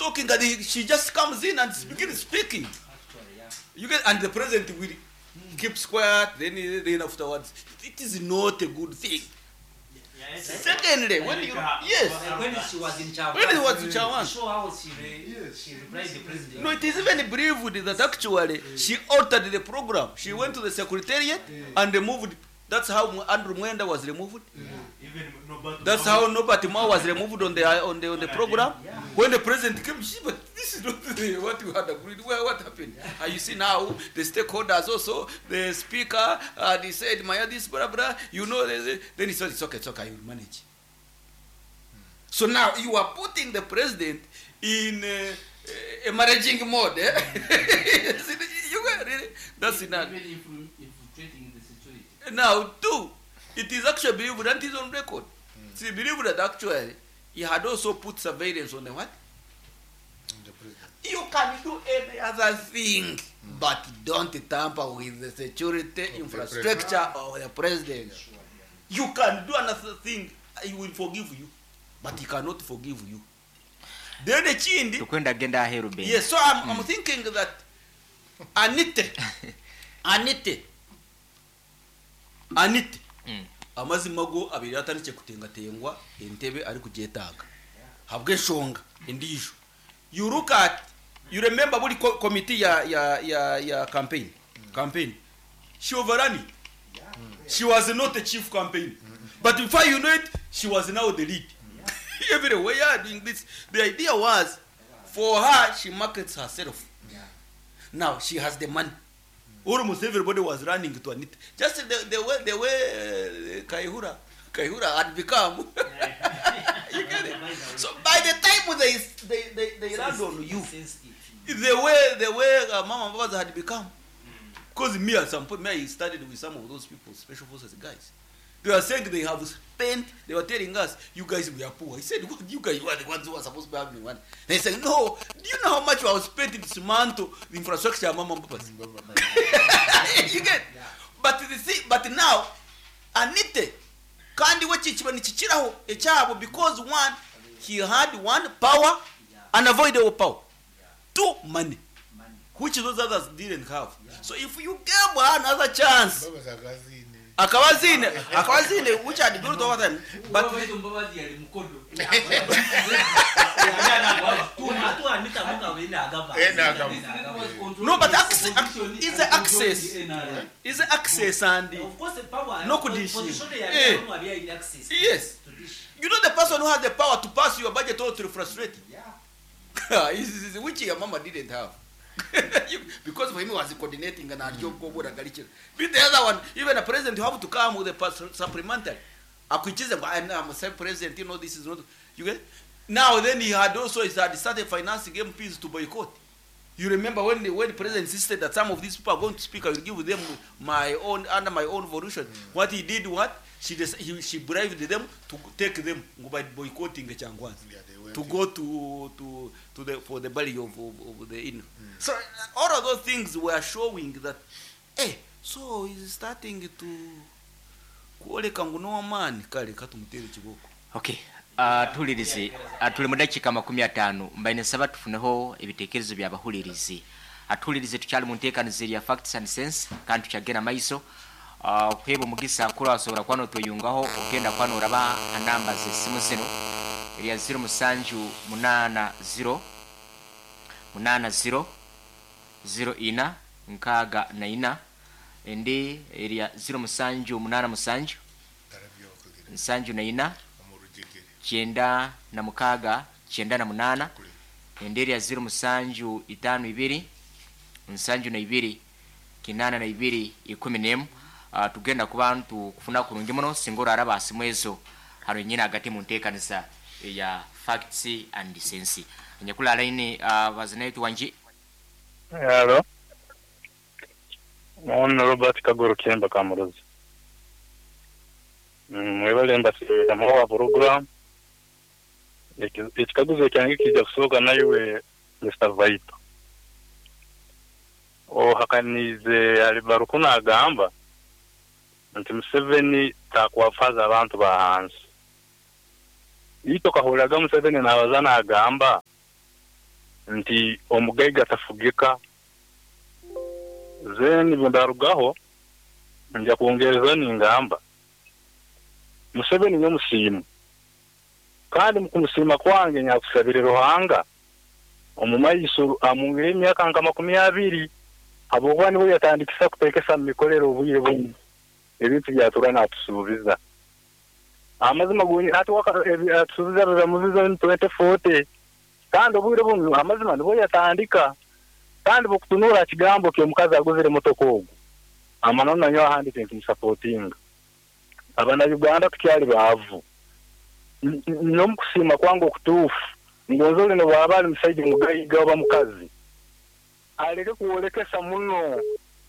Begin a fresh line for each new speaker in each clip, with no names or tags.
talking and he, she just comes in and begins speaking. You get, and the president will keeps quiet, then, then afterwards. It is not a good thing. Secondly, when you, yes,
When she was in Chawan,
when he was in Chawan,
show how she, re, she replied the president.
No, it is even believed that actually she altered the program. She went to the secretariat and removed. That's how Andrew Mwenda was removed.
Even Norbert
That's how Norbert Mao was removed on the on the on the program. When the president came, she, but this is not the, what you had agreed. Well, what happened? And you see now the stakeholders also, the speaker, they said, Maya, this, blah, blah. You know, then he said, it's okay, it's okay, I will manage. So now you are putting the president in a managing mode. Eh? You are really, that's enough.
Even infiltrating the security.
Now, two, it is actually believed that is on record. It's believed that actually he had also put surveillance on the what?
The president.
You can do any other thing, but don't tamper with the security
the
infrastructure of the president. You can do another thing, he will forgive you, but he cannot forgive you. Then the Chindi,
tukwenda genda aheru Ben.
yes, so I'm thinking that Anite, Anite, Anite, amazima go abiri atandikire kutengatengwa entebe ari kugyetaaga habw'enshonga endiijo. You look at, you remember buri committee ya, ya, ya, ya campaign, campaign. She overran it. She was not a chief campaign. But before you know it, she was now the lead. Everywhere doing this. The idea was, for her, she markets herself. Now she has the money. Almost everybody was running to Anita. Just the way Kaihura had become. You get it? So by the time they land on you, the way Mama Mbabazi had become. Because me at some point, me, I studied with some of those people, special forces guys. They were saying they have spent, they were telling us, you guys, we are poor. I said, what, you guys, you are the ones who are supposed to be having money. They said, no, do you know how much we have spent in dismantle the infrastructure of Mama Mbabazi? You get? But the thing, but now, Anite, kandi we kikiba nikikiraho ekyabo because one, he had one, power, unavoidable power. Two, money. Which those others didn't have. So if you gave her another chance,
Mbabazi akazine.
akabazine, akabazine, which had built over time. But
But Mbabazi yali mukodo.
No, but access, is the access, is the access and
Of course, the power.
No kudishi.
Position
Eh.
ya yali access.
Yes.
To dish.
You know the person who has the power to pass your budget or to frustrate you. Which your mama didn't have. Because for him he was coordinating and mm. But the other one, even a president, you have to come with a supplementary. Akwichize ngo, I'm a self president, you know this is not you get. Now then he had also he had started financing MPs to boycott. You remember when the president insisted that some of these people are going to speak, I will give them my own under my own volition. What he did, what she just, he, she bribed them to take them by boycotting the Changwans.
Yeah, they went
To go to the for the belly of the inn. So all of those things were showing that, hey, so he's starting to kuoleka ngu n'owamaani kale katumutere kiboko.
Okay. Tuhulirize tuli mu dakiika 50 mbaine nsaba tufuneho ebitekerezo byabahulirizi. Atuhulirize tukyali mu nteekaniza erya facts and sense kandi tukyagenda maiso. Okuheebwa omugisa kura wasobora kuba notweyungaho ogenda kuba noraba anamba z'essimu zino erya 0780 80 04 64 endi erya 0787 74 96 98 endi erya 0752 72 82 11. Tugenda kuba ntukufuna kurungi muno singa oraraba asimu ezo hano nyine hagati mu nteekanisa ya facts and sense. Nyakula line bazinaitu wanji.
Hello. Ono Robert Kagoro Kemba Kamurozi. Mwebale mbasirira wa program. Ekikaguzo kyange kijja kusooka nawe Mr. Vaito. Ohakanize alibaruku nagamba nti Museveni takwafaza abantu ba hansi. Ito kahuraga Museveni nabaza nagamba Nti omugaiga tafugika. Then bwendarugaho nja kwongereza ningamba Museveni nyowe musiima kandi mukumusiima kwange nyakusabire Ruhanga omumaiso amwongere emyaka nka 20 habwokuba niwe yatandikisa kutekesa mumikorere obwire bunu ebintu byatura natusuubiza. Amazima gonyini hati atusuubiza biba mu vision 2040 kandi obwire bunu amazima nibwo yatandika kandi bwokutunura aha kigambo ky'omukazi aguzire emotoka ogu amananu nanyowe ahandike ntimusapotinga. Abana Uganda tukyali baavu. Nyowe omukusiima kwange okutuufu ngonza ori nobwaba ari musaija mugaiga oba mukazi aleke kwolekesa muno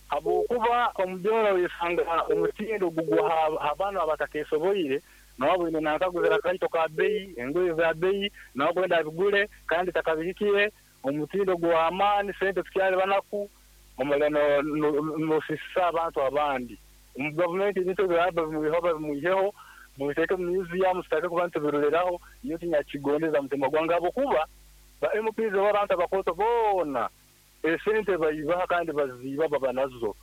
habwokuba omu byona oyesanga omutindo gugwa ha banu abatakesoboire nawe aboine nanka aguzire akaito ka beyi, engoye za beyi, nawe akwenda abigure kandi takabihikire, omutindo gw'amaani, sente tukyali banaku, omara nosisisa abantu abandi. Omu gavumenti ebintu ebi babimwiheho babimwiheho, mubiteeke omu museum tutandike kuba nitubiroreraho, nyowe tinyakigondeza mutima gwange habwokuba ba MPs oba abantu abakooto boona esente baibaha kandi baziiba baba nazo.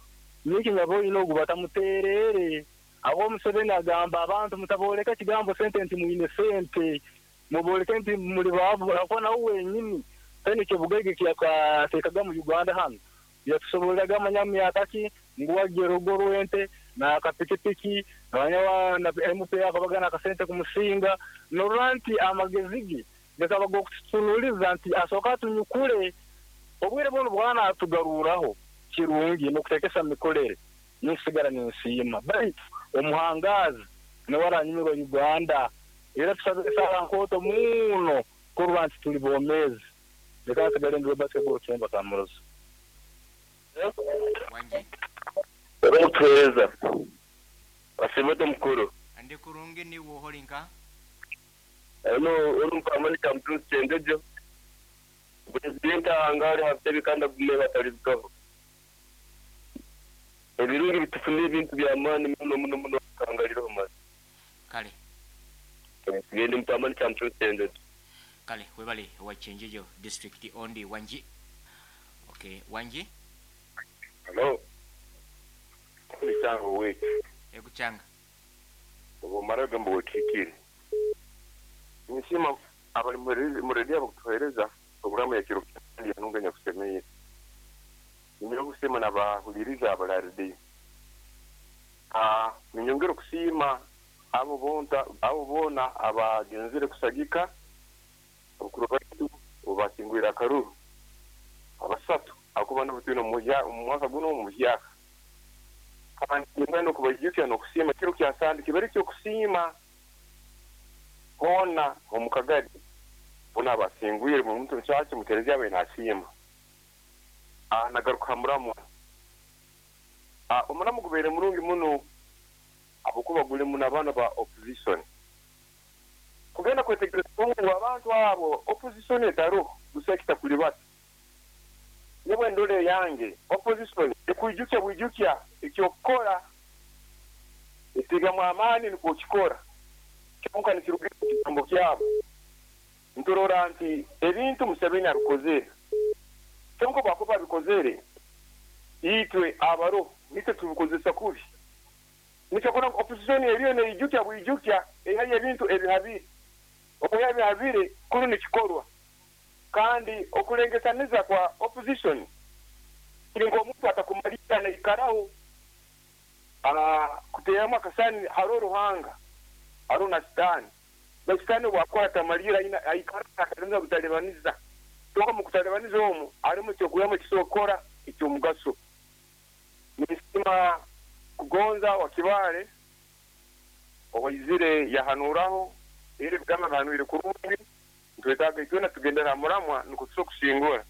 Nyowe kinyaboine ogu batamuteereere habwokuba Museveni agamba abantu mutabooreka ekigambo sente nti mwine sente, mubooreke nti muri baavu habwokuba nawe wenyini taine kyobugaiga ekiyakateekaga mu Uganda hanu. Yatusoborraga manya myaka ki ngu wagya orugo rw'ente n'akapikipiki manya na MP akabaga n'akasente kumusinga norora nti amagezi ge gakaba g'okututunuliza nti asooke atunyukure obwire bunu bwana atugaruraho kirungi n'okuteekesa mumikorere ninsigara ninsiima baitu omuhangaazi niwe aranyumirwa Uganda era tusabe esaara nkooto muno kurora nti tuli bomeezi. Leka nsigale ndi Robert Kagoro Kyemba Kamurozi.
Wangi.
Orikutuheereza osiima ota omukuru?
Ndi kurungi niiwe oha ori nka?
Onu ori Mukamani Kyamutunzi Kyenjojo, Purezidenti ahanga ari aha butebe kandi agume batarirugaho. Ebirungi bitufuna ebintu by'amaani muno muno muno Ruhanga riroho mazima.
Kale.
Nsigaire ndi Mukamani Kyamutunzi Kyenjojo.
Kale webale owa Kyenjojo district ondi wangi. Okay wangi.
Hello. Ni Kyanga owaitu.
Ego Kyanga.
Obumara ogambo wetuhikire. Ninsiima abari mu rediyo abakutuhereza puroguramu ya kiro kandi enungi enyakusemeire. Niinyongera okusiima n'abahuririza abari aha rediyo. Niinyongera okusiima abo bonta abo boona abagenzire kusagika abakuru baitu obu basingwire akaruru abasatu ahakuba nibo twine omu mwaka gunu omuhyaka. Kandi niinyenda n'okubaijukya n'okusiima kiro kya Sande kibe eky'okusiima hoona omu kagari boona abasingwire buri muntu omu kyakye omu kereziya abe nasiima. Nagaruka aha muramwa. Omuramwa gubaire murungi muno ahabw'okuba gurimu n'abaana ba opposition. Kugenda kwetegereza ngu abantu abo opposition etariho busa ekitakuribata. Nyowe endora eyange opposition ekwijukya bwijukya eky'okukora, etegamu amaani nikwo okikora kyonka nikiruga omu kigambo kyabo. Niturora nti ebintu Museveni abikozere kyonka obu akuba abikozere itwe abaroho nitwe tubikozesa kubi. Nikyo kurora ngu opposition eriyo neijukya bwijukya ehayo ebintu ebihabire. Okwihayo ebihabire kunu nikikorwa kandi okurengesaniza kwa opposition kiri nk'omuntu atakumaliira naikaraho kuteeramu akasani hariho Ruhanga hariho na sitaani. Baitu sitaani obu akuba atamaliire aikaraho natalibaniza butalibaniza. Kyonka omu kutalibaniza omu harimu eky'okwihamu ekisobora kukora eky'omugaso. Ninsiima Kugonza wa Kibaale owaizire yahanuuraho era ebigambo abihanwire kurungi. Nitwetaaga itwena tugendere ha muramwa nukwo tusobole kusingura.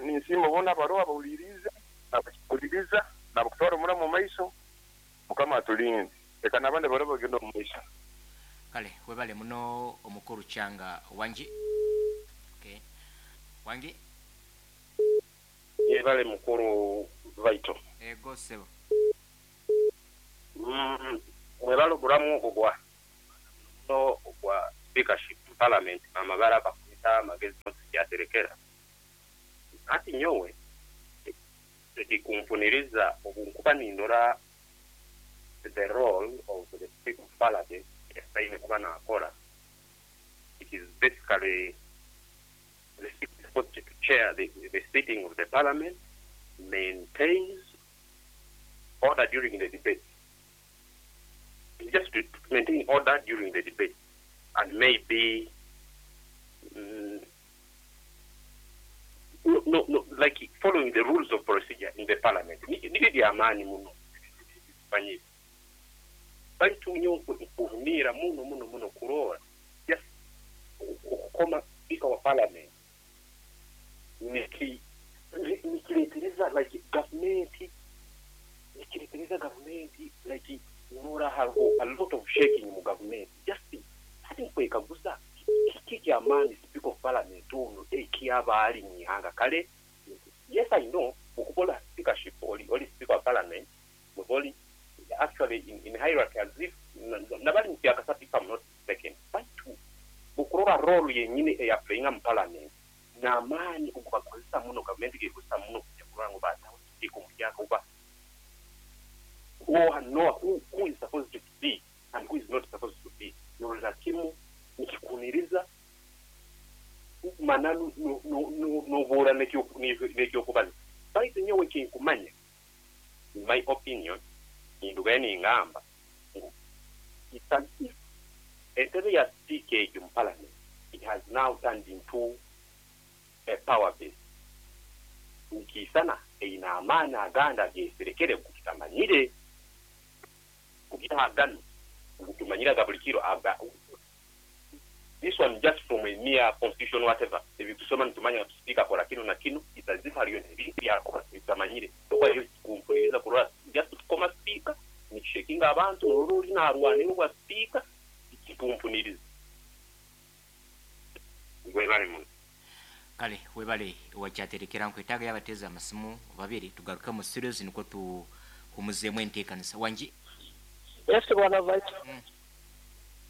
Ninsiima boona abaroho abahuriiriize n'abakihuriiriza n'abakutwara omuramwa omu maiso. Mukama atulinde. Leka n'abandi abaroho bagende omu maiso.
Kale webale muno omukuru Kyanga wangi. Okay. Wangi.
Yebale mukuru Vaito.
Ego sebo.
Mwebale oguramu ogwa muno ogwa speakership mu parliament amabara bakumita amagezi kyaterekera. Hati nyowe ekikumpuniriza obu nkuba nindora the role of the Speaker of Parliament aine kuba nakora, it is basically the Speaker is supposed to chair the sitting of the Parliament, maintains order during the debate. Just to maintain order during the debate and maybe no, no, no, like following the rules of procedure in the parliament. Nibyo byamaani muno manyire, baitu nyowe nkuhuniira muno muno muno kuroora just okukoma Speaker wa parliament nikireetereza like gavumenti, nikireetereza gavumenti, like norora hariho a lot of shaking mu gavumenti. Just hati nkwekaguza, kiki ekyamaani Speaker of parliament ono ekyaba ali mwihanga? Kale yes, I know okukola speakership, oli Speaker wa parliament, oli actually in hierarchy as if nabali mu kyakasatu, if I'm not mistaken, baitu okurora role yenyini eyaplayinga mu parliament n'amaani ogubakozesa muno, gavumenti gekozesa muno kujja kurora ngu bataho speaker omuhyaka, oba know who is supposed to be and who is not supposed to be. Norora kimu nikikuniriza mananu nobuura n'ekyokubaza. Baitu nyowe kinkumanya, in my opinion, nindugayo ningamba ngu it's as if entebe ya speaker egyo mu parliament, it has now turned into a power base. Nikiisana eine amaani agandi ageserekere tutamanyire kugira gano tumanyire aga buli kiro aga. This one, just from a mere constitution, whatever, ebitusoma nitumanya speaker akora kino na kino. It's as if hariyo ebintu byakora bitamanyire. Okwa kumpuliriza kurora just tukoma speaker nikishakinga abantu, norora ori narwanira obwa speaker, kikumpuniriza. Webale muno.
Kale, webale wakyaterekera. Nkwetaaga yabateeza amasimu babiri, tugaruke mu studios niko tuhumuzeemu enteekanisa wangi.
Yes, bwana Vaito.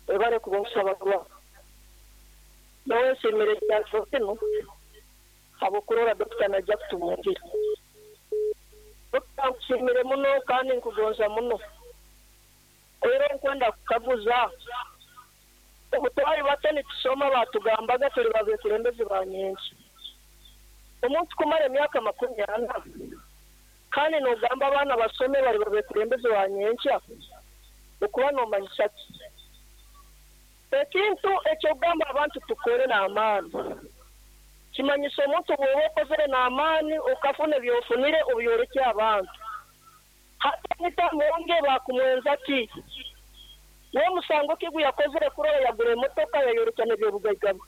Webale kuba nkusaba kuba nowesimire kyafo kino habwokurora dokita najja kutumungira. Dokita, nkusimire muno kandi nkugonza muno, era nkwenda kukaguza, obu twali bato nitusoma batugambaga tuli babekulembezi ba nyenki. Omuntu kumara emyaka 40 kandi nogamba abaana basome bali babekulembezi ba nyenkya, okuba nomanyisa ki? Ekintu ekyogamba abantu tukore n'amaani kimanyisa omuntu bw'oba okozere n'amaani okafuna ebyofunire obyoreke abantu. Hata nitamonge bakumwenza ki? We musango ki yakozere kurora yagura emotoka yayorekana ebyobugaiga bwe?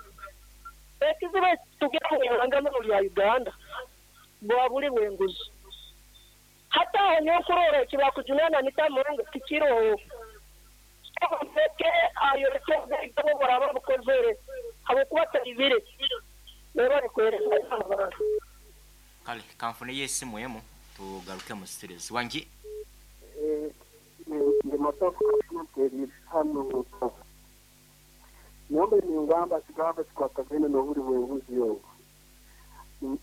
Ekizibu tugira mu ihanga muno lya Uganda bwa buli bwenguzi. Hata aho nyokurora ekibakujunana nitamonge tikiroho ke ayoreke obugaiga bwe buraba bukozere habwokuba taribire nebari kwereka abantu.
Kale, kanfuneyo esimu emu tugaruke mu studios. Wangi.
Ndi masafu kafunateri hano. Nyombe ningamba kigamba kikwatagene n'obuli bwenguzi obu.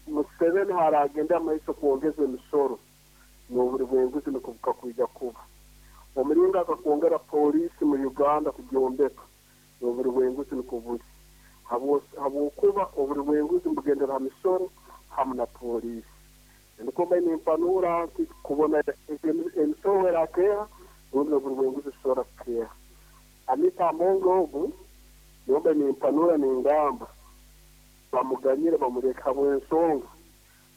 Museveni haragenda amaiso kwongeza emisoro, n'obuli bwenguzi nikubuka kwija kuba. Omuringa akakwongera polisi mu Uganda kugyombeka, n'obuli bwenguzi nikubuli. Habwokuba obuli bwenguzi mbugendera ha misoro hamu na polisi. Nikomba nimpanura nti kubona emisoro erakeha, rundi obuli bwenguzi busobora kukeha. Anita Amongo ogu nyombe nimpanura ningamba bamuganyire bamureka habw'ensonga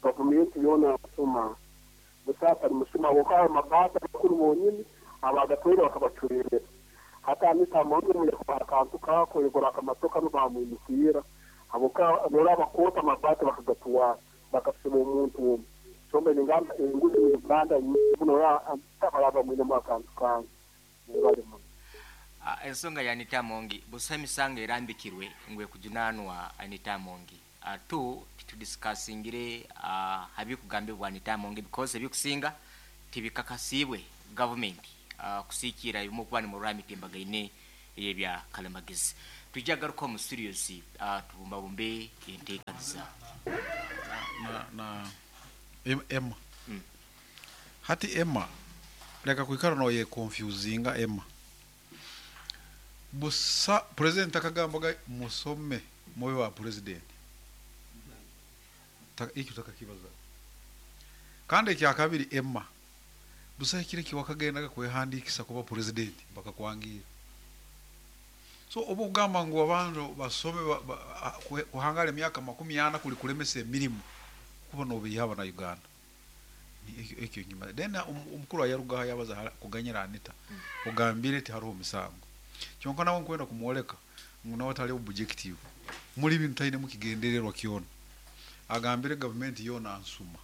gavumenti yoona asuma busasa nimusuma habwokuba amabata bakuru bonyini abagatwire bakabacurerera. Hata Anita Amongo muyakora akantu kako yagura akamatoka nibamwimukira, habwokuba nora abakoota amabati bakagatwara bakasiba omuntu omwe. Sombe ningamba enguzi mu Uganda muno baraba mwinemu akantu kange. Mwebale muno.
Ensonga ya Anita Amongi, busa emisango erambikirwe ngwe kujunanwa Anita Amongi. Tu titudiscussingire habikugambibwa Anita Amongi because ebikusinga tibikakasibwe government kusiikira ebimu okuba nimurora emitimbagaine ey'ebya kalamagezi. Tujja garuka mu studios, tubumbabumbe enteekaniza.
na na Emma. Hati Emma leka kwikara noyeconfusinga Emma. Busa president akagambaga musome mube wa president. Ekyo takakibaza. Kandi ekyakabiri Emma busa ekiro kiwakagendaga kwehandikisa kuba president bakakwangira. So oba okugamba ngu abantu basome kuhangara emyaka 40 kuli kulemesa emirimu kuba nobiiha abana Uganda. Ekyo nyuma. Then omukuru ayarugaho yabaza kuganyira Anita. Ogambire ti hariho omusango. Kyonka nawe nkwenda kumwoleka ngu nawe tali objective. Muri bintu taine mukigendererwa kyona. Agambire gavumenti yona nsuma.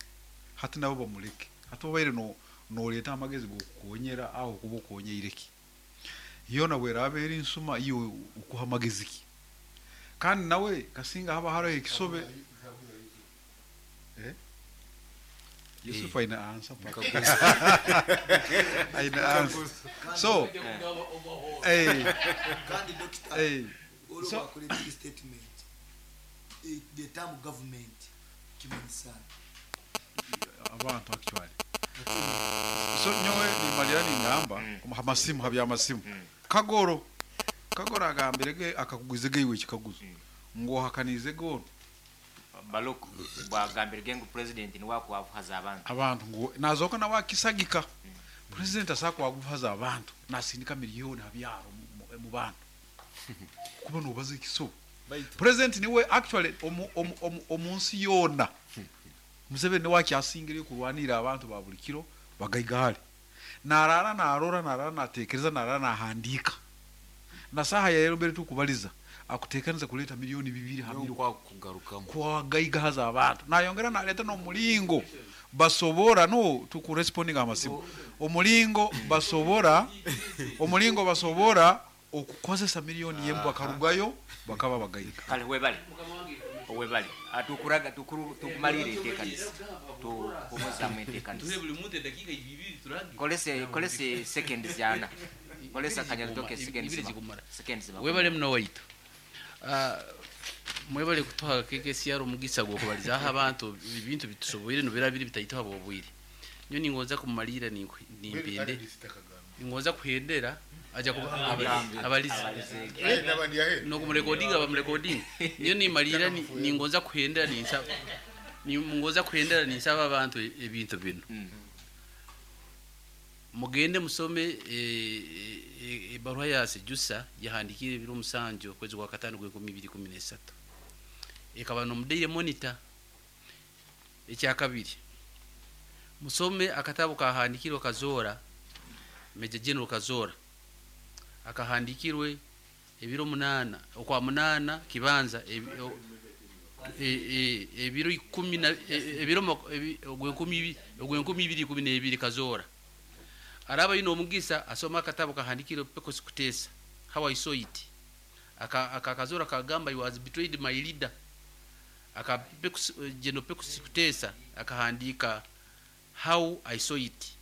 Hati nabo bamuleke. Hati obaire no noleeta amagezi g'okukonyera aho kuba okonyeire ki. Yona bweraaba eri nsuma iyo ukuha amagezi ki. Kandi nawe kasinga haba hariho ekisobe. Yusuf aina answer. Aina answer. So,
Kandi doctor,
so,
bakora big statement. The term government kimanyisa
abantu actually. So nyowe nimalira ningamba amasimu habya amasimu. Kagoro agambirege akakugwizege iwe ekikaguzo. Ngo hakanize gono.
Baloko bwagambirege ngu president ni wakwavuhaza abantu.
Abantu ngo nazoka na wakisagika. President asakwa waguhaza abantu nasindika miliyoni habyaro mu bantu. Kuba nobaza ikiso. President niwe actually omunsi yona. Museveni niwe akyasingire kurwanira abantu ba buli kiro bagaigahale. Narara narora narara natekereza narara nahandika. Na saha ya mbere tukubaliza akutekaniza kuleta milioni 2 hamiro
kwa kugarukamo
kwa gaigahaza abantu. Nayongera naleta no mulingo basobora no tukuresponding amasimu. Omulingo basobora omulingo basobora okukozesa milioni yembu akarugayo bakaba bagaiga.
Kale webali. Webali. Atukuraga tukumalire enteekanisa. Tukomoza enteekanisa.
Tuhe buli muntu eddakiika ibiri turage.
Kolese seconds yana. Kolesa kanyalitoke seconds. Seconds.
Webale muno waitu. Mwebale kutuha KKCR omugisa gw'okubalizaho abantu ebintu bitusoboire nobira biri bitaituha bobwire. Nyo ningoza kumalira nimpende. Ningoza kuhendera aja kuba abaliza. No kumurekodinga bamurekodinga. Nyo nimalira ningoza kuhendera ninsaba. Ningoza kuhendera ninsaba abantu ebintu bino. Mugende musome ebaruha ya Sejusa yahandikire biro musanjo kwezi kwa 5 2013. Ekaba no Daily Monitor. Ekyakabiri. Musome akatabo kahandikirwe Kazora, Major General Kazora. Akahandikirwe ebiro 8 okwa 8 kibanza ebiro 10 na ebiro 2012 Kazora. Araba ino omugisa asoma akatabo kahandikirwe Pecos Kutesa, How I Saw It. Aka Kazora kagamba, he was betrayed my leader. Aka Pecos General Pecos Kutesa akahandika How I Saw It.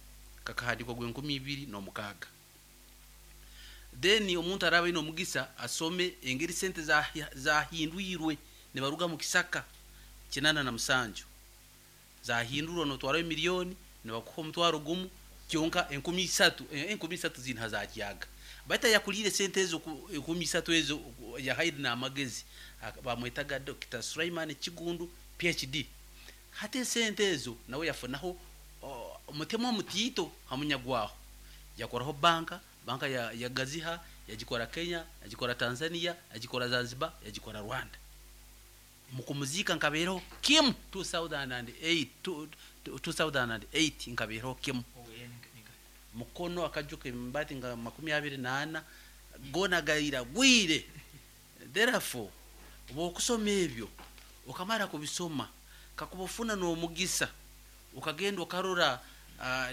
Kakahandikwa gwe 2006. Then omuntu araba ino omugisa asome engeri sente za hindwirwe ne baruga mu kisaka 87. Za hindurwa notwara milioni ne bakuha omutwaro gumu kyonka 13 13 zinha zakiyaga. Bata yakulire sente ezo 13 ezo ya haidi na amagezi bamwetaga Dr. Sulaiman Kigundu PhD. Hate sente ezo nawe yafunaho omutemo mutito hamunyagwaho. Yakoraho banka ya Gaziha, yagikora Kenya, yagikora Tanzania, yagikora Zanzibar, yagikora Rwanda. Mukumuzika nkabero Kim 2008 nkabero Kim. Mukono akajuka embati nga 24 gona gaira gwire. Therefore okusoma ebyo okamara kubisoma kakubufuna n'omugisa ukagenda okarora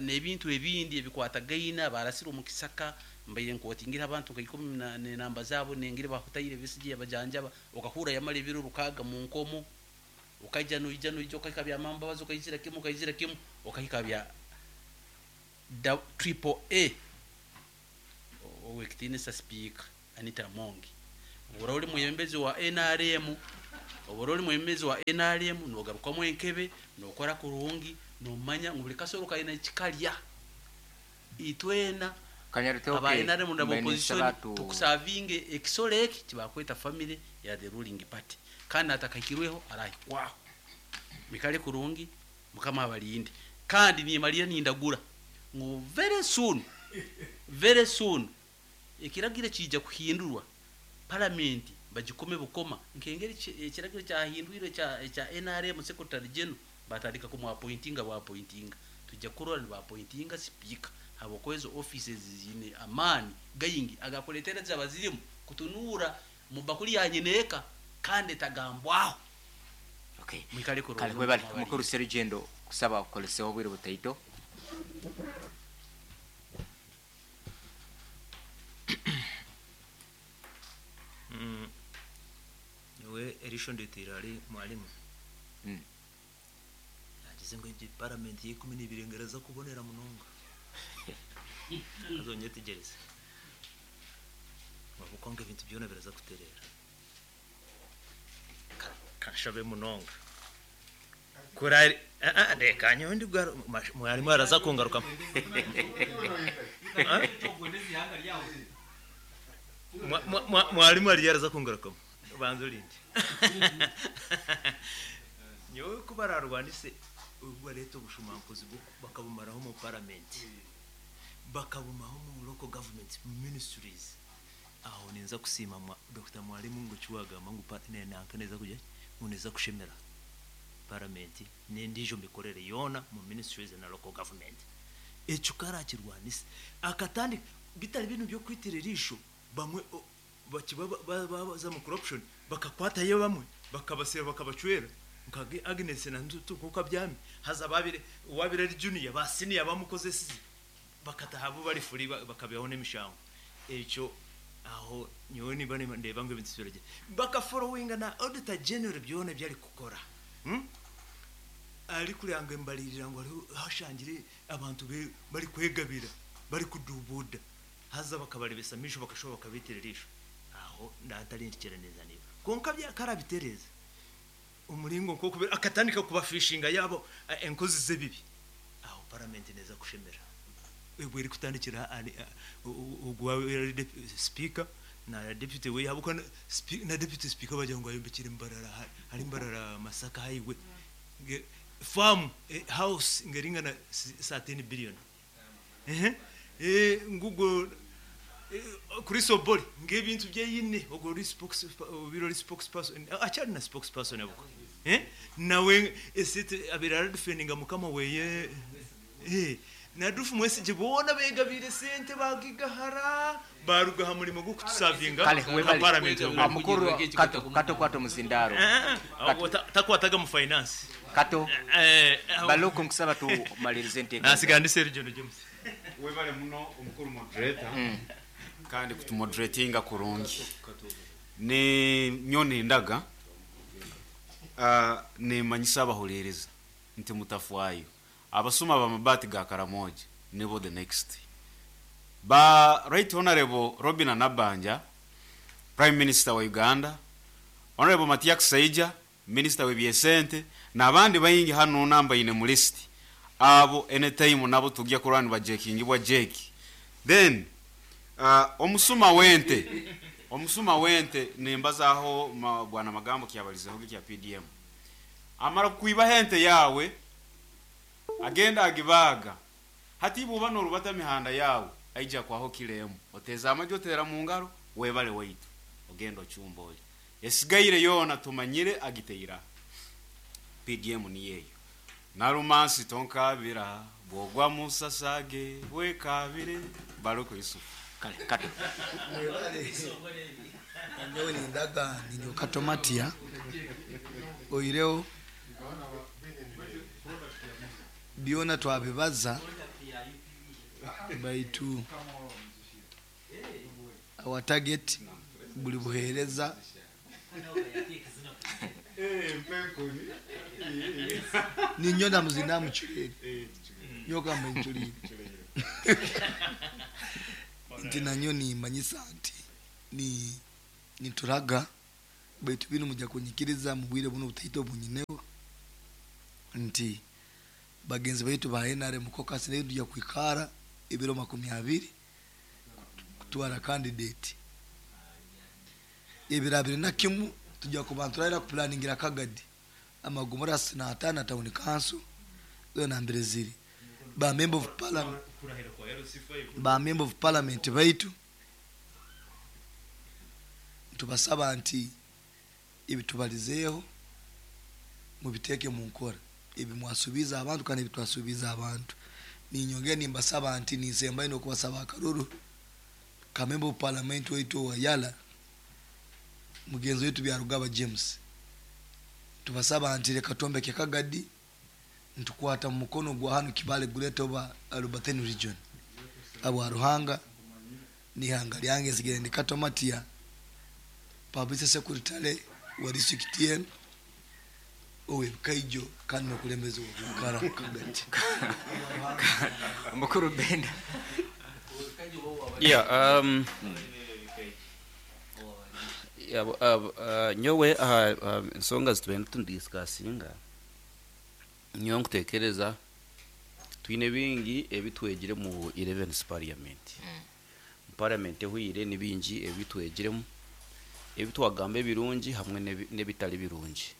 n'ebintu ebindi ebikwatagaina barasira mu kisaka mbaye nkotingira abantu nka 10 na namba zabo nengire bahutayire bisigiye abajanjaba okahura yamara ebiro rukaga mu nkomo ukaija noija noija okahika bya mamba bazo okayizira kimu okahika bya triple A owekitinisa speaker Anita Mongi. Ora uli muyembezi wa NRM Obu ori mwebembezi wa NRM nogarukwamu enkebe, nokora kurungi, nomanya ngu buri kasoro kaine eki karya. Itwena aba
Kanyarutooke
NRM na
mbaire
opposition
ninsaba tu
tukusavinge ekisoro eki kibakweta family ya the ruling party. Kandi atakahikirweho arahikwaho. Mwikare kurungi, Mukama abarinde. Kandi nimalira nindagura ngu very soon, very soon ekiragiro kiija kuhindurwa, paramenti bagikome bukoma nk'engeri ekiragiro kyahindwirwe ekya NRM Secretary General batandika kumu appointinga bwa appointinga. Twija kurora niba appointinga sipiika habwokuba ezo offices ziine amaani gaingi agakureetera zaba zirimu kutunuura mu bakuli ya nyineeka kandi etagambwaho.
Okay.
Mwikare
Kale
kurungi,
webale
Mukama
mukuru
abarinde.
Serugendo kusaba kukoleseho obwire butaito.
Nyowe erisho ndetiire ahari mwarimu. Yagize ngu egi paramenti y'eikumi n'ibiri ngu eraza kubonera munonga. Haza onyetegyereze. Ahabw'okuba ngu ebintu byona biraza kutereera. Kanshabe munonga. Kurari reka nyowe ndi mwarimu araza kungarukamu. Mwarimu ariyo araza kungarukamu. Banza orinde. Nyowe ku bararwanise obu bareeta obushumankuzi bakabumaraho omu paramenti, bakabumaho omu local government ministries. Aho ninza kusiima Dr. Mwarimu ngu eki wagamba ngu nanka neeza kugira ngu neeza kushemera paramenti n'endiijo mikorere yoona mu ministries na local government. Ekyo karakirwanisa akatandika bitari binu by'okwitira eriisho bamwe bakiba baza mu corruption bakakwatayo bamwe bakabasira bakabacwera nka Agnes na Ntutu nkuko abyami haza babire uwabire ari junior ba senior bamukozesize bakataha bo bari free bakabeho n'emishango. Ekyo aho nyowe niba ndeba ngu ebintu biragye bakafollowinga na auditor general byona byari kukora. Ari kuranga embalirira ngu hariho hashangire abantu bari kwegabira bari kudubuda haza bakabarebesa misho bakashoba bakabitira erisho. Aho ndantarindikira neza niba konka byakarabitereza omuringo nko kubera akatandika kubafishinga yabo enkozi z'ebibi. Aho paramenti neza kushemera ebwe eri kutandikira ogwa speaker na deputy we yabuka na deputy speaker bagira ngo ayombekere Mbarara hari Mbarara Masaka highway farm house ngeringana sa 10 billion. Ngugo kuri Soboli ngebintu byeyine ogo ri spokes biro ri spokesperson acyari na spokesperson abuko nawe esite abirara defendinga mukama weye nadufu mwese jibona begabire sente bagigahara barugaha mulimo gwo kutusavinga
Kale,
nka
webale.
parliament
Mukuru kato kwato muzindaro.
Takwataga mu finance.
Kato. Baluku nkusaba tumalirize enteekateeka.
Nasiga ndi Serugendo James.
Webale muno omukuru moderator. Kandi kutumoderatinga kurungi. Ni nyoni ndaga. Nimanyisa abahulereza nti mutafwayo. Abasuma b'amabaati ga Karamoja nibo the next. Ba Right Honorable Robin Anabanja, Prime Minister wa Uganda, Honorable Matiak Saija, Minister w'ebyesente, n'abandi baingi hano namba ine mu list. Abo anytime nabo tujya kurani bajekingibwa jeki. Then omusuma wente nimbazaho bwana Magambo kyabalizeho kya PDM. Amara kuiba hente yawe agenda agibaga. Hati buba norubata mihanda yawe aija kwaho kilemu. Oteza amajo tera mu ngaro webale waitu. Ogenda ochumboli. Esigaire yona tumanyire agiteira. PDM ni yeyo. Narumansi tonkabira bwogwa musasage wekabire Baruku Yusuf.
Kale kato.
Nyowe nindaga ninyoka tomatia. Oireo byona twabibaza baitu our target buli buhereza ninyona muzinda muchulire nyoka mchulire nti nanyo nimanyisa nti ni nituraga Baitu binu mujja kunyikiriza mu bwire bunu obutaito obunyineho nti bagenzi baitu ba NRM caucus nayo tujja kwikara ebiro 20 kutwara candidate. Ebiro 21 tujja kuba niturahira kupulaningira Kagadi amagombolola 65 na town council zoona nambere ziri. Ba member of parliament, ba member of parliament baitu nitubasaba nti ebitubalizeeho mubiteeke mu nkora, ebi mwasuubiize abantu kandi ebi twasuubiize abantu. Ninyongera nimbasaba nti ninsembayo n'okubasaba akaruru ka member of parliament waitu owa Yala, mugenzi waitu Byarugaba James. Tubasaba nti reka twombeke Kagadi, nitukwata mu mukono gwa hanu Kibale Greater oba Rubateni region. Habwa Ruhanga n'ihanga lyange nsigire ndi Kato Matia, publicity secretary wa district enu ow'ebikaijo kandi n'okulembezi w'obwikara Kagadi.
Mukuru Benda.
Yeah, yeah, nyowe aha ensonga zitubenda tunidiscussinga, nyowe nkutekereza twine bingi ebitwegire mu 11th parliament. Mu parliament ehwire ni bingi ebitwegiremu, ebitwagamba ebirungi hamwe n'ebitari birungi.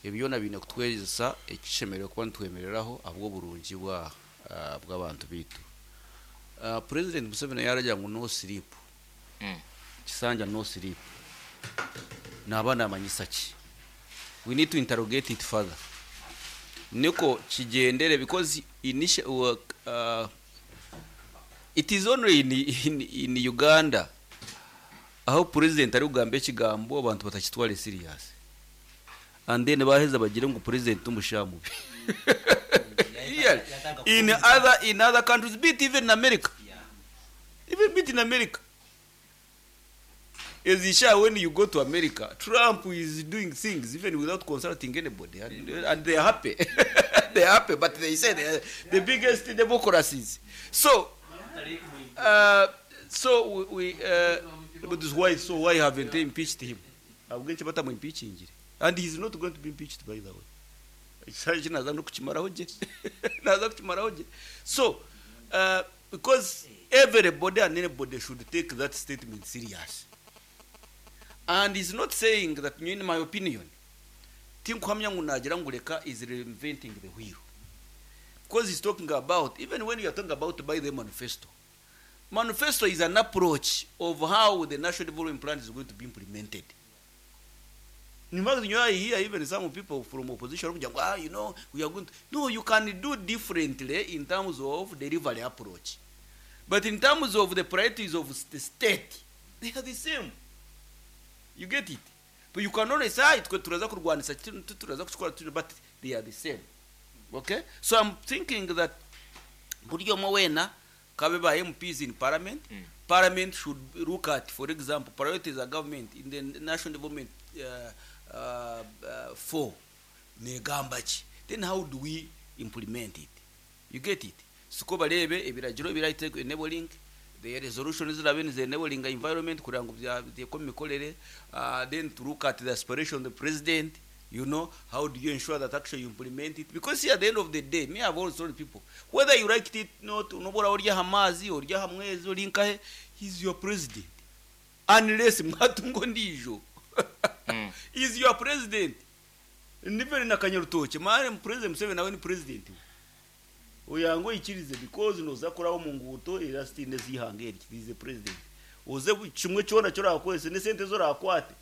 Ebyo byona biine kutwegyesa ekishemereire kuba nitwemereraho ahabw'oburungi bw'abantu bitu. President Museveni yaragira ngu no sleep, kisanja no sleep, naba namanyisa ki? We need to interrogate it further niko kigendere, because initial, it is only in Uganda aho president ari kugamba ekigambo abantu batakitware serious, and then baheza bagire ngu president umushamubi. Yeah. In other countries, be it even in America, even be it in America, as Isha, when you go to America, Trump is doing things even without consulting anybody, and they are happy. They are happy, but they say they are the biggest democracies. So, but why? So why haven't they impeached him? Ahabw'enki batamu-impeachingire? And he's not going to be impeached, by the way. Ekisanja naza no kukimaraho gye, naza kukimaraho gye. So because everybody and anybody should take that statement serious, and he's not saying that, in my opinion, tinkuhamya ngu nagira ngu reka is reinventing the wheel, because he's talking about, even when you are talking about by the manifesto, manifesto is an approach of how the National Development Plan is going to be implemented. In fact, I hear even some people from opposition kugira ngo, we are going to, no, you can do differently in terms of delivery approach, but in terms of the priorities of the state, they are the same. You get it? But you can only say twe turaza kurwanisa kino, turaza kukikora tuno, but they are the same. Okay, so I'm thinking that buri omwe wena kabe ba MPs in parliament, parliament should look at, for example, priorities of government in the National Development 4 negamba ki, then how do we implement it? You get it? Siko barebe ebiragiro ebiraite enabling the resolution zirabe nize enabling environment kugira ngu byeko mikorere, then to look at the aspiration of the president. How do you ensure that actually you implement it? Because see, at the end of the day, me, I've always told people, whether you like it not, nobora orya hamazi orya hamwezi ori nkahe, he's your president, unless mwatungo ndijo. He's your president. Nivere na kanyarutoke mare, President Museveni nawe ni president oyango ikirize, because noza kuraho mu nguto era stine zihanga eri, he is the president. Oze kimwe cyona cyo rakwese ne sente zo rakwate,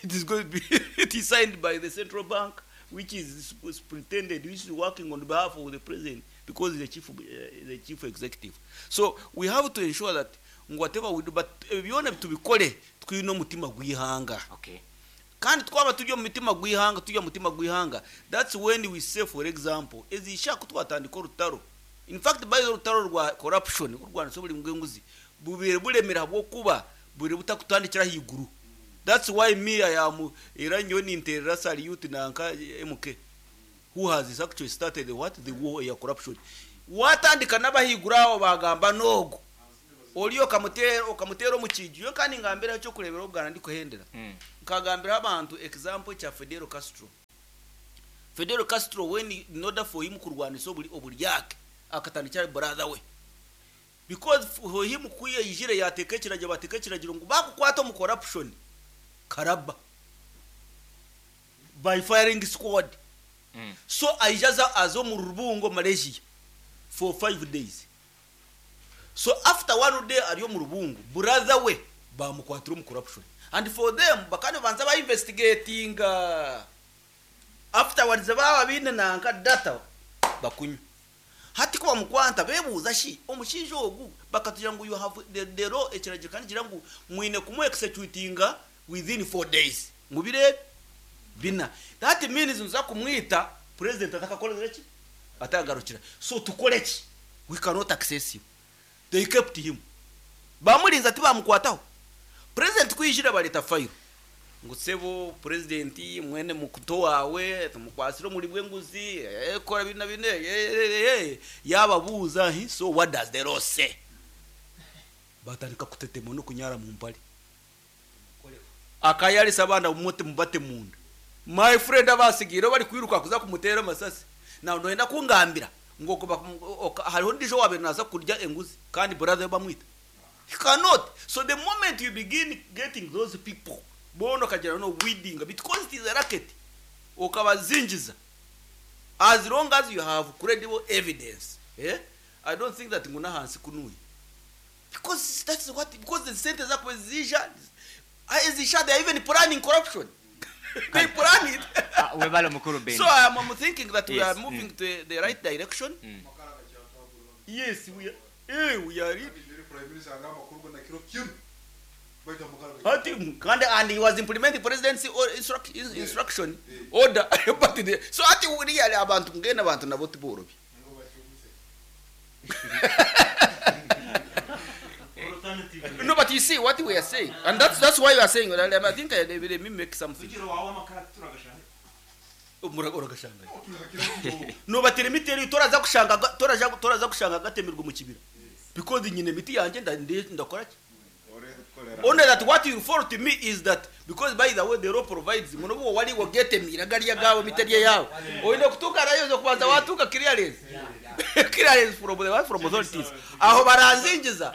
it is going to be, it is signed by the central bank, which is superintended, which is working on behalf of the president, because he's the chief executive. So we have to ensure that whatever we do, but byona tubikore twine omutima gw'ihanga. Kandi twaba turi omu mitima gw'ihanga, turi omu mutima gw'ihanga, that's when we say, for example, ezishaka twatandika orutaro. In fact, by the rutaro rwa corruption, urwanisa buri bw'enguzi bubire buremera habwokuba buri butakutandikira higuru. That's why me, I am era nyowe ninterera salute nanka MK, who has actually started the what, the war ya corruption. Watandika n'abahiguru abo bagamba nogo. Ori okamuteera okamuteera omu kiiju. Nyowe kandi ngambiraho eky'okureeberaho bwana ndikuhendera. Nkagambiraho abantu example kya Fidel Castro. Fidel Castro when in order for him kurwanisa oburi oburyake akatandikira ahari brother we. Because for him ku yaijire yaateeka ekiragiro baateeka ekiragiro ngu baakukwata omu corruption karaba by firing squad. So aija aza aza omu rubungo Malaysia for 5 days. So after one day ari omu rubungo, brother we bamukwatira omu corruption. And for them bakaba nibabanza ba investigatinga. Afterwards baaba baine nanka data bakunywa. Hati ku bamukwata bebuuza shi omushaija ogu bakatugira ngu you have the law ekiragiro kandi kigira ngu mwine kumu executinga within 4 days. Ngu biro ebi bina. That means nituza kumwita president atakakorire ki? Atakagarukira. So tukore ki? We cannot access him. They kept him. Bamurinze tibamukwataho. President ku yaijire bareeta file. Ngu sebo president mwene muto waawe tumukwasire omuri bw'enguzi kora bina na bine yababuuza hi so what does the law say? Batandika kutetema n'okunyara mu mpare. Akayarisa abaana bumuti mubate munda. My friend abasigiire bari kwiruka kuza kumutera amasasi. Now noyenda kungambira ngu hariho ndijo wabe naza kurya enguzi kandi brother we bamwita. You cannot. So the moment you begin getting those people, bono okagira no weeding because it is a racket. Okabazingiza. As long as you have credible evidence, eh? I don't think that nguna hansi kunuyi. Because that's what because the sentence zako zisha zisha they are even planning corruption. They plan it.
Webale mukuru Ben.
So I'm thinking that we are moving to the right direction. Yes, we are. We are in.
Prime Minister agamba kurwa na kiro kimwe baita mukara.
Ati kandi and he was implementing presidency or instruction order but so ati really abantu ngena abantu nabo tiborobi. No, but you see what we are saying, and that's why we are saying. I think let me make something. Uragashanga. No, but let me tell you, toraza kushanga toraza kushanga gatemirwa mu kibira. Because nyine miti yanje ndakora ki? Only that what you refer to me is that because by the way the law provides muno wali wagetemira gariya gawe miterye yawe oine kutuka rayo zo kubanza watuka clearance from the from authorities aho baranzingiza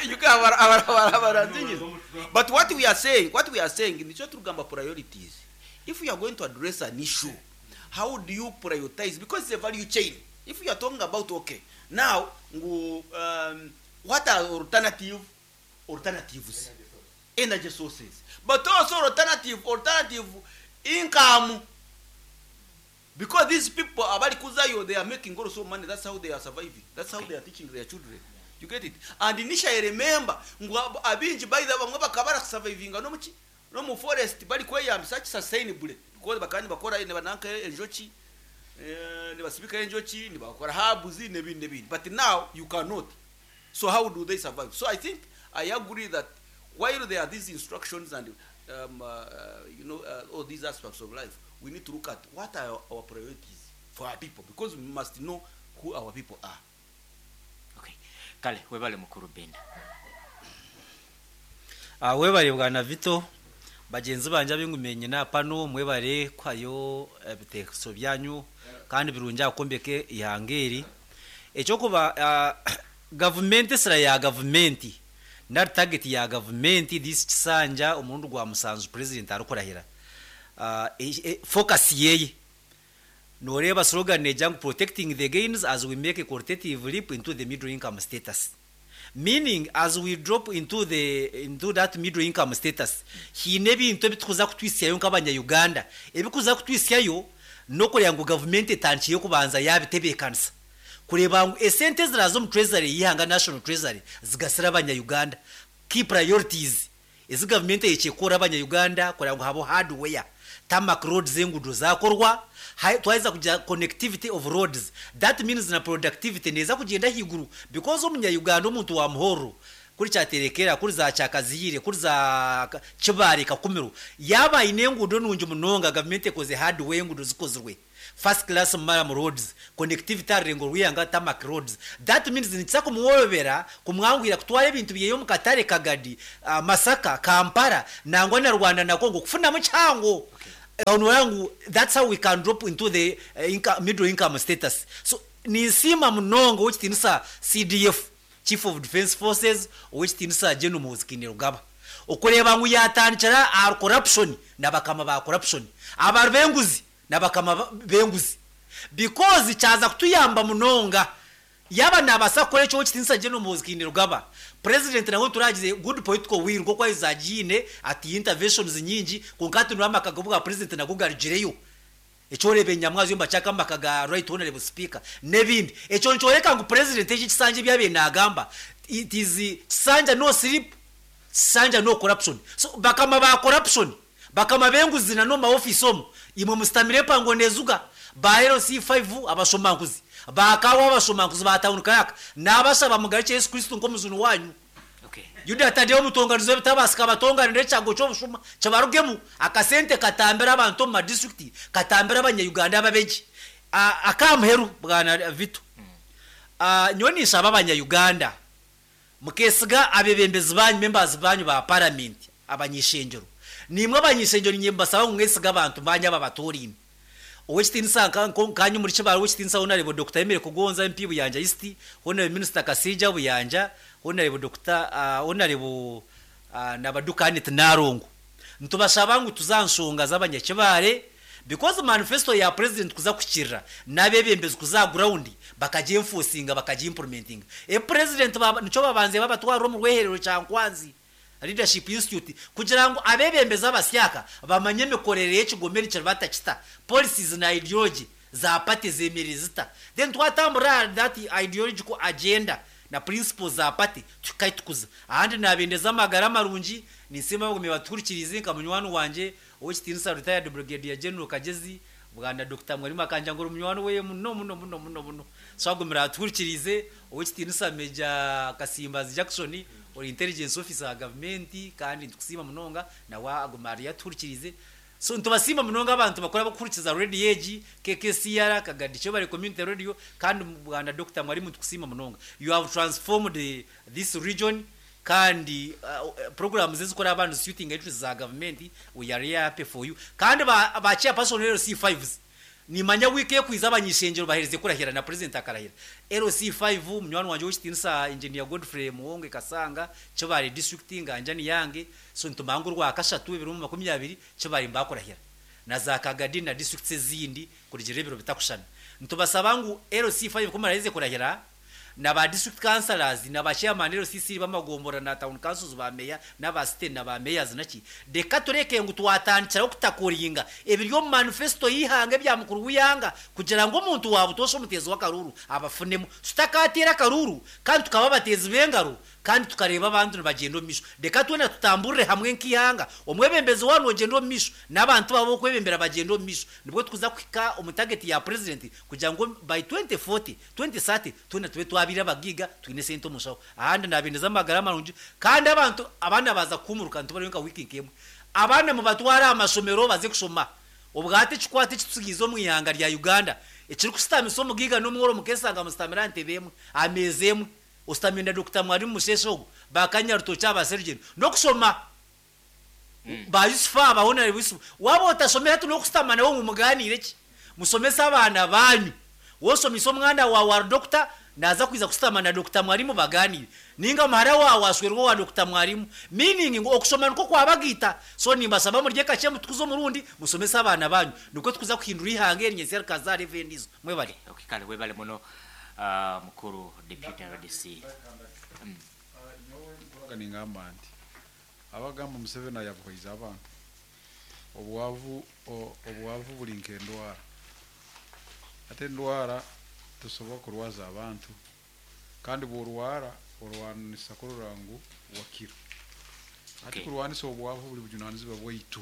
you can baranzingiza. But what we are saying nico turugamba priorities. If we are going to address an issue, how do you prioritize? Because it's a value chain. If you are talking about, okay, now ngu what are alternatives, energy sources, but also alternative income, because these people abali kuzayo, they are making also money. That's how they are surviving, that's how they are teaching their children, you get it? And initially, remember ngu abingi by the bamwe bakaba barasurvivinga no muki no mu forest bari kweyambisa sustainably because bakandi bakora ne bananka enjoki nibasibika enjoki nibakora herbs n'ebindi n'ebindi. But now you cannot. So how do they survive? So I think I agree that while there are these instructions and all these aspects of life, we need to look at what are our priorities for our people, because we must know who our people are.
Okay, kale webale mukuru Benda.
Webale bwana Vito, bagenzi banje abingumenye na pano mwebale kwayo ebitekerezo byanyu kandi birungi akombeke ihangeri ekyokuba gavumenti esira ya gavumenti nari target ya gavumenti this kisanja omurundi gwa musanzu president arikurahira focus yeye noreba slogan eja ngu "Protecting the gains as we make a qualitative leap into the middle income status", meaning as we drop into that middle income status hiine ebintu ebitukuza kutwisyayo nk'abanya-Uganda ebikuza kutwisyayo nokureba ngu gavumenti etankiye kubanza yabitebeekanisa kureba ngu esente ziraza omu treasury yihanga, national treasury, zigasira abanya-Uganda. Key priorities ezi gavumenti eyekikora abanya-Uganda kureba ngu habo hardware, tarmac roads, engudo zakorwa. Twaheza kugira connectivity of roads, that means na productivity neza kugenda higuru because omunya-Uganda omuntu wa muhoro Kuri Kyaterekera, kuri za Kyakaziire, kuri za Kibaare, Kakumiro, yaaba aine enguudo nungi munonga, gavumenti ekoze hardware enguudo zikozirwe, first class murram roads, connectivity aha rurengo rw'eihanga tarmac roads, that means nikiza kumworobera, kumwanguhira kutwara ebintu byeye omu katare Kagadi, Masaka, Kampala nangwa na Rwanda na Congo kufunamu kihango. Aho noreeba ngu that's how we can drop into the middle income status. So ninsiima munonga ow'ekitiinisa CDF, Chief of Defence Forces, Ow'ekitiinisa Gen Muhoozi Kainerugaba, okureeba ngu yaatandikira ahari corruption na bakama ba corruption, abari b'enguzi na bakama b'enguzi because kyaza kutuyamba munonga yaaba naabaasa kukora ekyo Ow'ekitiinisa Gen Muhoozi Kainerugaba, President nawe turagize good political will nk'oku ahize agiine ati interventions nyingi kwonka hati noreeba amaka g'obwa President nago garugireyo. Ekyoreeba enyamwa zombi bakyaka omu maka ga Right Honourable Speaker n'ebindi. Ekyo nikyoreka ngu Purezidenti eki ekisanja ebi abaire naagamba it is kisanja no sleep, kisanja no corruption. So bakama ba corruption, bakama b'enguzi na n'omu ma ofiisi omu, imwe musitamire empango neezuga, ba LC5 abashomankuzi, ba Kaawa abashomankuzi, ba Town Clerk, naabashaba mugarukye Yesu Kristo nk'omujuni waanyu. Yuda Tadeo omutonganizi w'ebitabaasika abatonganire ekyago ky'obushuma kibarugemu, akasente katambire abantu omu madisiturikiti, katambire abanya-Uganda ababegye. Ak'aha muheru, Bwana Vito, nyowe ninshaba abanya-Uganda mukesiga abeebembezi baanyu, members baanyu ba Paramenti, abany'ishengyero. Naimwe abany'ishengyero niinye mbasaba ngu mwesige abantu baanyu ababatoraine. Ow'ekitiinisa nka nkaanye omuri Kibaale Ow'ekitiinisa Honarebo Dokita Emily Kugonza MP Buyanja East, Honarebo Minisita Kasaija Buyanja, Honarebo Dokita Honarebo Nabaduka Annet Nalongo. Nitubashaba ngu tuze aha nshonga z'abanyakibaale because manifesto ya President kuza kuhikirira n'abeebembezi kuza aha ground bakagyenfosinga bakagiimpurumentinga. Ebi President nikyo babanze babatwarira omu rweherero Kyankwanzi. Leadership Institute, kugira ngu abeebembezi abasyaka bamanye emikorere y'ekigombe nikiriba kita, policies na ideology za party zemereire zita. Then twatambura ahari that ideological agenda na principles za party tuhika ahi tukuza. Ahandi nabendeza amagara marungi, ninsiima abagumire batuhurikiriize nka munywani wangye Ow'ekitiinisa Retired Brigadier General Kagyezi, Bwana Dokita Mwarimu akangira ngu ori munywani weye muno muno muno muno muno. So agumire atuhurikiriize, Ow'ekitiinisa Major Kasimbazi Jackson ori Intelligence Officer wa gavumenti kandi nitukusiima munonga nawe agume ariyo atuhurikiriize. So nitubasiima munonga abantu bakuru abarikuhurikiza radio egi, KKCR, Kagadi Kyebare Community Radio kandi Bwana Dokita Mwarimu nitukusiima munonga. You have transformed this region Kandi programs ezikora nizi suitinga interests za gavumenti, we are here happy for you. Kandi ba ba chairperson LC5s, nimanya wiiki ekwiza abanyishengyero baherize kurahira na president akarahira. LC5 munywani wangye ow'ekitiinisa Engineer Godfrey Muwonge Kasanga, Kibaale district nganjani yange, so nitumanya ngu orwakashatu ebiro 20 Kibaale nibakurahira. Na za Kagadi na districts ezindi kurugirira ebiro bitakushushana. Nitubasaba ngu LC5 kumuraherize kurahira, na ba district councillors na ba chairman LCC b'amagomborora na town councils ba meya n'aba city na ba mayors naki reka tureke ngu twatandikiraho kutakoringa ebiri omu manifesto y'eihanga ebya mukuru w'eihanga kugira ngu omuntu wa butoosha omuteezi w'akaruuru abafunemu tutakateera akaruuru kandi tukaba abateezi b'engaro kandi tukareeba abantu nibagyenda omu maisho. Reka twena tutamburire hamwe nk'eihanga, omwebembezi waaba nogyenda omu maisho, n'abantu baawe ab'okwebembera bagyende omu maisho, nibwo tukuza kuhika omu tageti ya Purezidenti kugira ngu by 2040, 2030 twena tube twabaire abagaiga twine esente omu nshaho. Ahandi nabendeza amagara marungi kandi abantu abaana baaza kuhuumuruka nitubarayo nka wiiki nk'emwe. Abaana mubatware aha mashomero baze kushoma. Obwahati ekikwate ekitutsigiize omu ihanga rya Uganda ekirikushutamisa omugaiga n'omworo mukeeshanga musitamire aha ntebe emwe, aha meeza emwe. Ositami na Dokita Mwarimu Musheshe ogu, ba Kanyarutookye aba Serugendo, n'okushoma. Ba Yusufu aba, Honarebo Yusufu. Waaba otashomire hati n'okusitama nawe ngu mugaaniire ki? Mushomese abaana baanyu. W'oshomeise omwana waawe ari dokita, naaza kwija kusitama na Dokita Mwarimu bagaaniire. Nainga muhara waawe ashwerwe owa Dokita Mwarimu. Meaning ngu okushoma nikwo kwabagaita. So nimbashaba murye kakye mutukuze omurundi, mushomese abaana baanyu. Nikwo tukuza kuhindura eihanga eri nyentsya rikazaara evo endiijo. Mwebare.
Okay, kale webale muno Mukuru Deputy RDC.
Nyowe nkoraga ningamba nti abagamba Museveni ayabuhaize abantu obwavu obwavu buri nk'endwara hati endwara tosobora kurwaza abantu kandi bworwara orwanisa kurora ngu wakira hati kurwanisa obwavu buri bujunanizibwa bwaitu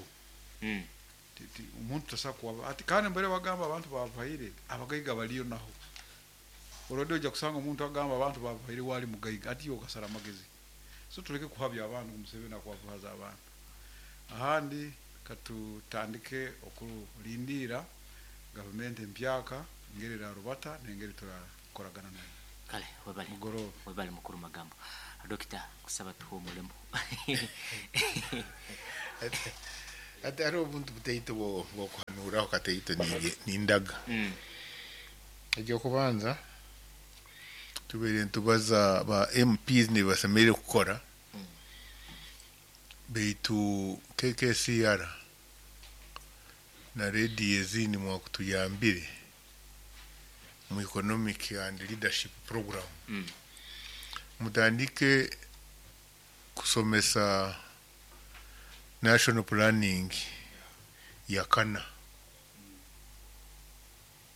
omuntu tasobola kuba hati kandi mbere bagamba abantu babahaire abagaiga bariyo naho already oija kusanga omuntu agamba abantu babahaire we ali mugaiga hati iwe okasara amagezi. So tuleke kuhabya abantu ngu Museveni akwavuhaza abantu. Ahandi katutandike okulindiira gavumenti empyaka engeri erarubata n'engeri turakoragana nayo.
Kale webale.
Mugoroba.
Webale mukuru Magambo. Dokita kusaba tuhumuremu.
Hati hariho obuntu butaito bw'okuhanuuraho kataito nindaga. Eky'okubanza tubaire nitubaza ba MPs nibasemereire kukora beitu KKCR na rediyo ezindi mwakutuyambire mu economic and leadership program. Mutandike kusomesa national planning ya kana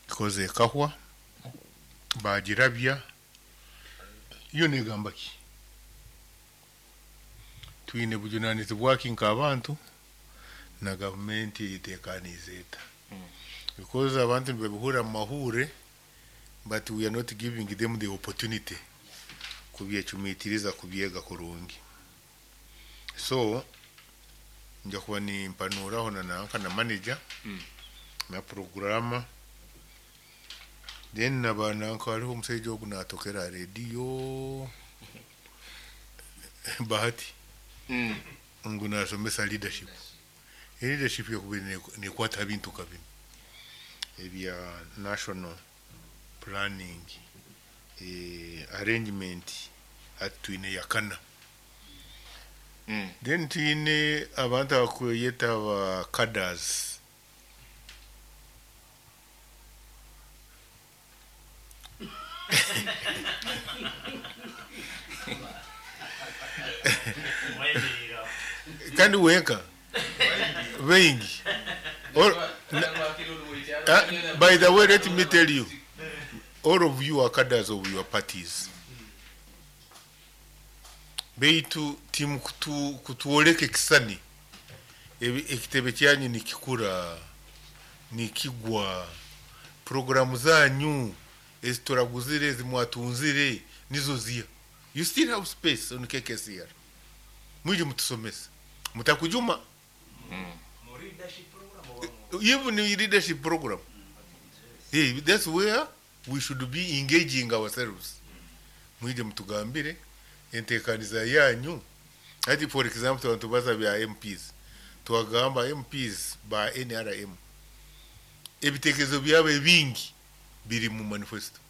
because ekahwa bagirabya yo negamba ki twine bujunanizibwa ki nk'abantu na gavumenti etekaniize eta because abantu nibabihurira mu mahure but we are not giving them the opportunity kubyecumitiriza kubyega kurungi. So nja kuba nimpanuraho na nanka na manager na programa then naba nanka hariho omusaija ogu natokera aha rediyo Bahati ngu nasomesa leadership. Leadership yakubaire nekwata aha bintu nka binu ebya national planning arrangement. Hati twine yakana. Then twine abantu abakweyeta ba cadres. Kandi wenka baingi. By the way, let me tell you, all of you are cadres of your parties. Beitu timu kutuoleka ekisani ekitebe kyanyu nikikura nikigwa programu zanyu ezituraguzire ezimwatunzire nizo ziya. You still have space on KKCR. Mwije mutusomese mutakujuma. Even in leadership program. Hey, that's where we should be engaging ourselves. Mwije mutugambire entekaniza yanyu. Ati for example abantu baza bya MPs. Twagamba MPs ba NRM. Ebitekerezo byabo bingi biri mu manifesto.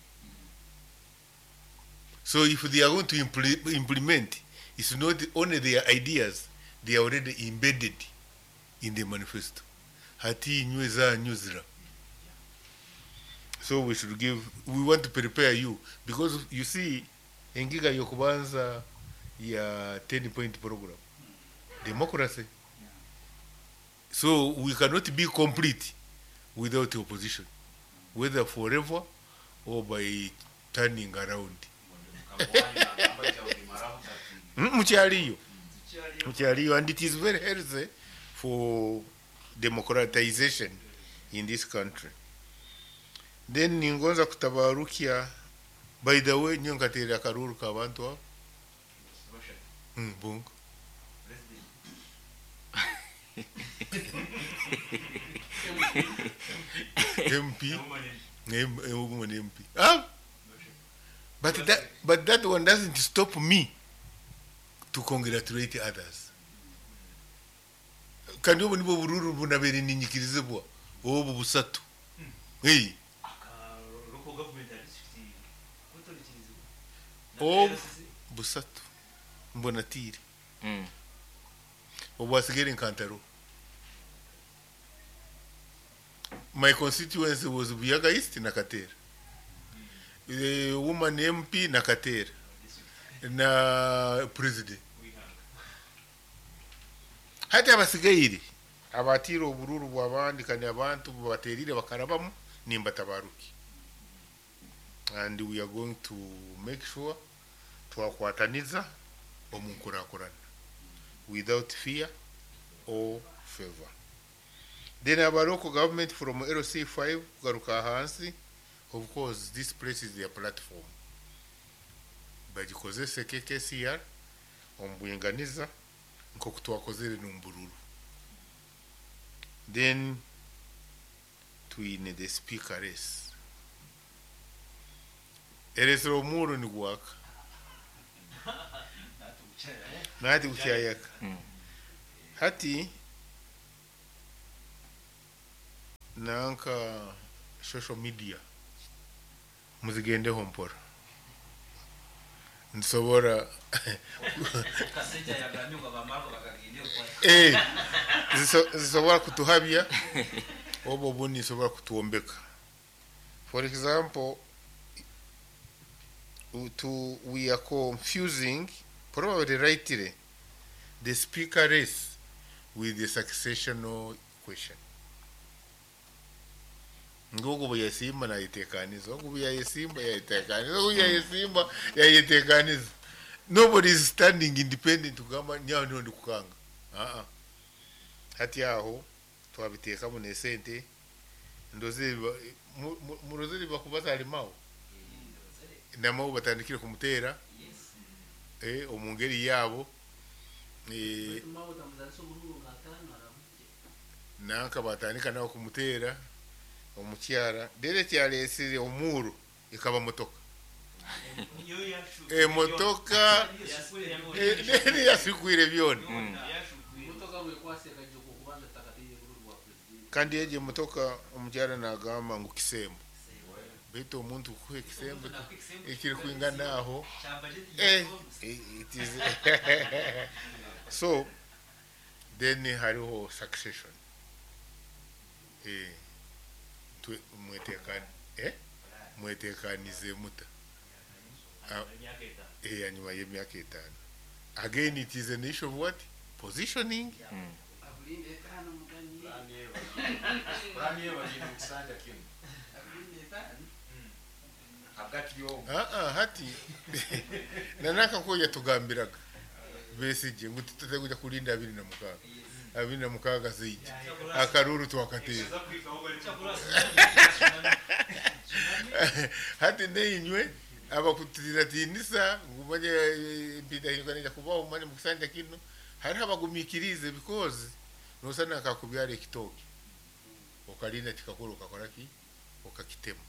So if they are going to implement, it's not only their ideas, they are already embedded in the manifesto. Hati inywe zanyu zira. So we should give, we want to prepare you because you see engiga yokubanza ya 10 point program. Democracy. So we cannot be complete without the opposition, whether forever or by turning around. Mukyaliyo. Mukyaliyo, and it is very healthy for democratization in this country. Then ningonza kutabarukia, by the way, nyo nkateera akaruru k'abantu abo. Bunga. MP. Woman MP. But that one doesn't stop me to congratulate others. Kandi obu nibwo bururu bunabere ninyikirizibwa obu busatu. Hey. Obu busatu mbona tiri. Obu asigere nkantaro. My constituency was Buyaga East na Katera. The woman MP na Katera. Na president. Hati abasigaire abatira obururu bw'abandi kandi abantu baterire bakarabamu nimbatabaruki. And we are going to make sure twakwataniza omunkurakurana without fear or favor. Then our local government from LC5 kugaruka hansi, of course this place is their platform. Bagikozese KKCR omu bwinganiza nk'oku twakozere n'omu Then twine the speaker race. Eresire omuuro nigwaka. Nati gukyayaka. Hati nanka social media muzigendeho mpora nsobora Eh, zisobora kutuhabya oba obundi nisobora kutuombeka. For example, we are confusing, probably rightly, the speaker race with the successional question. Ngogu bwe nayetekaniza, ogu bwe yayesimba yayetekaniza, ogu yayesimba yayetekaniza. Nobody is standing independent kugamba nyawe niho ndi kukanga. Ah. Hati aho twabiteekamu n'esente ndoze murozere bakubaza alimawo namawo batandikire kumuteera omu ngeri yaabo nanka batandika nawe kumuteera omukyara rero ekyaleesire omuuro ekaba motoka emotoka yasikwire byona. Kandi egyo emotoka omukyara nagamba ngu kisembo, baitu omuntu kukuha ekisembo ekiri kwingana aho it is so. Then hariho succession, mwetekanize muta hanyuma y'emyaka 5. Again, it is an issue of what? Positioning. Hati nanaka ko yatugambiraga Besigye ngu tutateguja kulinda 26 26 zeija akaruru twakatera. Hati neinywe abakutiratinisa ngumanye mpita hinduka kubaho manye mukusanja kino hariho abagumikirize because nosana akakubyara ekitoki okalinda kikakura okakora ki okakitema.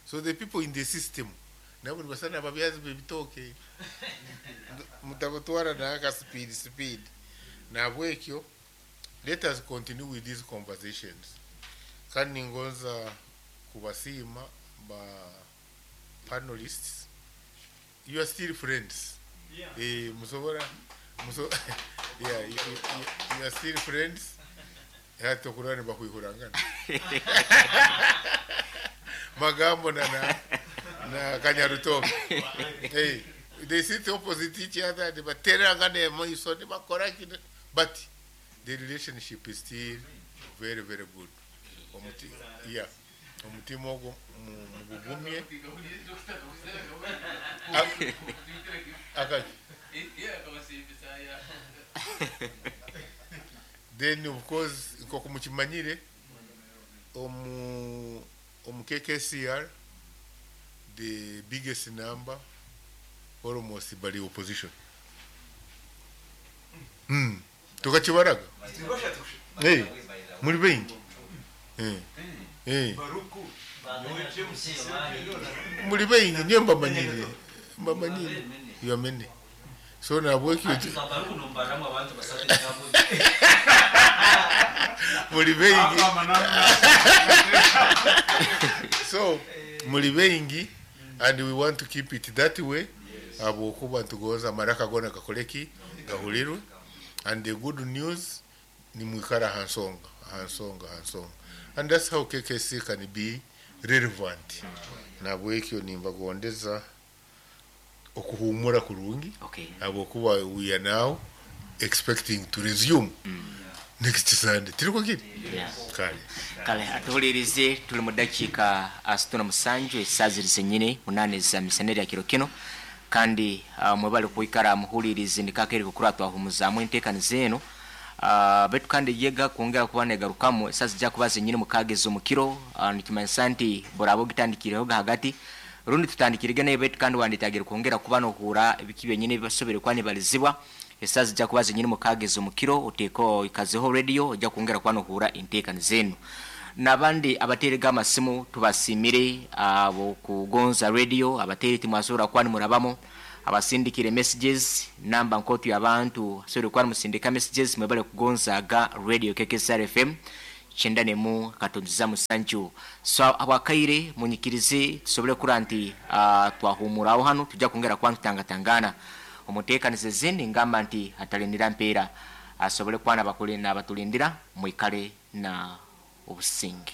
So the people in the system nabo nibasana ababyazi b'ebitooke mutabatwara naka speed nabwekyo. Let us continue with these conversations. Kandi ningonza kubasiima ba panelists. You are still friends. Yeah. Musobora yeah, you are still friends. Hata kurani bakwihurangana magambo na Kanyarutoke. Hey, they sit opposite each other, they baterangana emaiso, bakora but the relationship is still very, very good. Omutima ogwo mugugumye. Then of course nk'oku mukimanyire omu KKCR the biggest number almost bali opposition. Tukakibaraga. Hey, muri bengi. Muri bengi nyo mbamanyire. Mbamanyire. Yamene. So nabweki muri bengi. So muri bengi and we want to keep it that way. Abo kuba tugoza maraka gona gakoleki gahulirwe. And the good news ni mwikara hansonga hansonga hansonga, and that's how KKC can be relevant. Nabwekyo nimbagondeza okuhumura kurungi.
Okay.
Abo kuba we are now expecting to resume next Sunday. Tiriko kiri?
Yeah.
Kale.
Kale atuhulirize tuli mu dakiika 67 esaaha ziri zenyini 8 za misaneri ya kiro kino. Kandi mwebale kuikara muhulirize ndikakeri kukura twahumuzaamu enteekaniza eno. Betu kandi yega kwongera kuba negarukamu esaaha zijja kuba zenyini mukaaga mukiro. Nikimanyisa nti boraba ogitandikireho hagati rundi tutandikirige naye betu kandi wanditagire kwongera kuba nohura ebiki byenyini bibasobere kuba nibalizibwa. Esaaha zijja kuba zenyini mukaaga ez'omukiro, oteeke oikazeho radio ojja kwongera kuba nohuura enteekaniza enu. N'abandi abateerege amasimu tubasiimire ab'okugonza radio, abateeri timwasobora kuba nimurabamu, abasindikire messages, namba nkootu y'abantu asobora kuba nimusindika messages mwebale kugonzaaga radio KKSR FM 91 katonziza musanju. So habwakaire munyikirize tusobole kurora nti twahumuraho hanu tujja kwongera kuba nitutangatangana omu nteekaniza ezindi ngamba nti atalindira mpeera asobole kuba nabatulindira mwikale na obusinge.